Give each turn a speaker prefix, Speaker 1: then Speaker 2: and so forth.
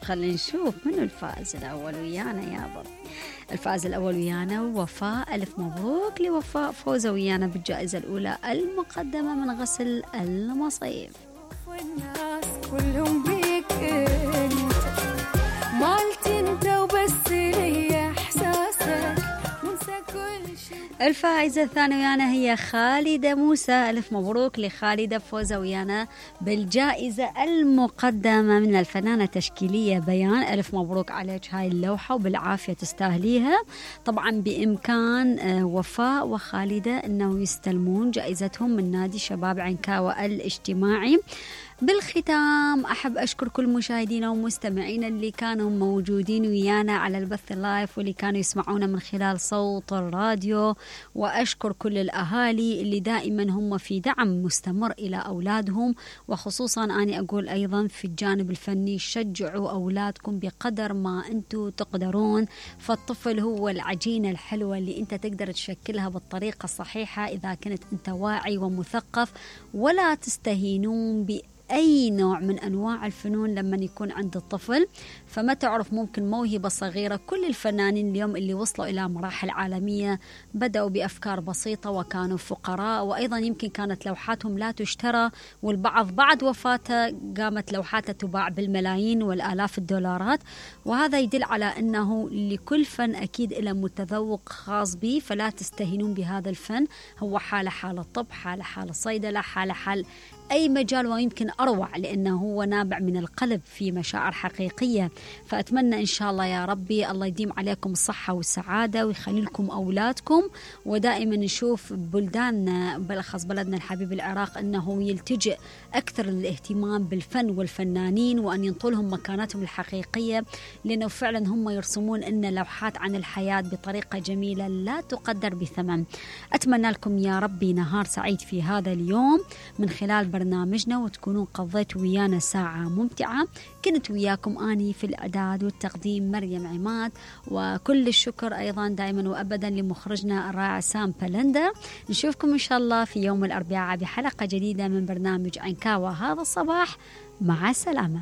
Speaker 1: خلينا نشوف منو الفائز الأول ويانا يابا. الفائز الأول ويانا وفاء. ألف مبروك لوفاء، فوزة ويانا بالجائزة الأولى المقدمة من غسل المصيف.
Speaker 2: والناس كلهم بيك انت مالتي انت وبس لي احساسك منسى كل شيء.
Speaker 1: الفائزة الثانية ويانا هي خالدة موسى. ألف مبروك لخالدة، فوزة ويانا بالجائزة المقدمة من الفنانة تشكيلية بيان. ألف مبروك عليك هاي اللوحة وبالعافية تستاهليها. طبعا بإمكان وفاء وخالدة أنه يستلمون جائزتهم من نادي شباب عنكاوة الاجتماعي. بالختام أحب أشكر كل مشاهدينا ومستمعينا اللي كانوا موجودين ويانا على البث اللايف واللي كانوا يسمعونا من خلال صوت الراديو، وأشكر كل الأهالي اللي دائما هم في دعم مستمر إلى أولادهم، وخصوصا أنا أقول أيضا في الجانب الفني شجعوا أولادكم بقدر ما أنتم تقدرون، فالطفل هو العجينة الحلوة اللي أنت تقدر تشكلها بالطريقة الصحيحة إذا كنت أنت واعي ومثقف. ولا تستهينون أي نوع من أنواع الفنون لما يكون عند الطفل، فما تعرف ممكن موهبة صغيرة. كل الفنانين اليوم اللي وصلوا إلى مراحل عالمية بدأوا بأفكار بسيطة وكانوا فقراء، وأيضا يمكن كانت لوحاتهم لا تشترى، والبعض بعد وفاته قامت لوحاته تباع بالملايين والآلاف الدولارات. وهذا يدل على أنه لكل فن أكيد إلى متذوق خاص به، فلا تستهينون بهذا الفن. هو حالة حال الطب، حالة الصيدلة، حال أي مجال، ويمكن أروع لأنه هو نابع من القلب في مشاعر حقيقية. فأتمنى إن شاء الله يا ربي الله يديم عليكم الصحة والسعادة ويخلي لكم أولادكم، ودائما نشوف بلداننا بالأخص بلدنا الحبيب العراق أنه يلتجئ أكثر للاهتمام بالفن والفنانين وأن ينطلهم مكانتهم الحقيقية، لأنه فعلا هم يرسمون لنا لوحات عن الحياة بطريقة جميلة لا تقدر بثمن. أتمنى لكم يا ربي نهار سعيد في هذا اليوم من خلال برنامجنا، وتكونون قضيتوا ويانا ساعة ممتعة. كنت وياكم أني في الإعداد والتقديم مريم عماد، وكل الشكر أيضا دائما وأبدا لمخرجنا الرائع سام بلندا. نشوفكم إن شاء الله في يوم الأربعاء بحلقة جديدة من برنامج عنكاوة هذا الصباح. مع السلامة.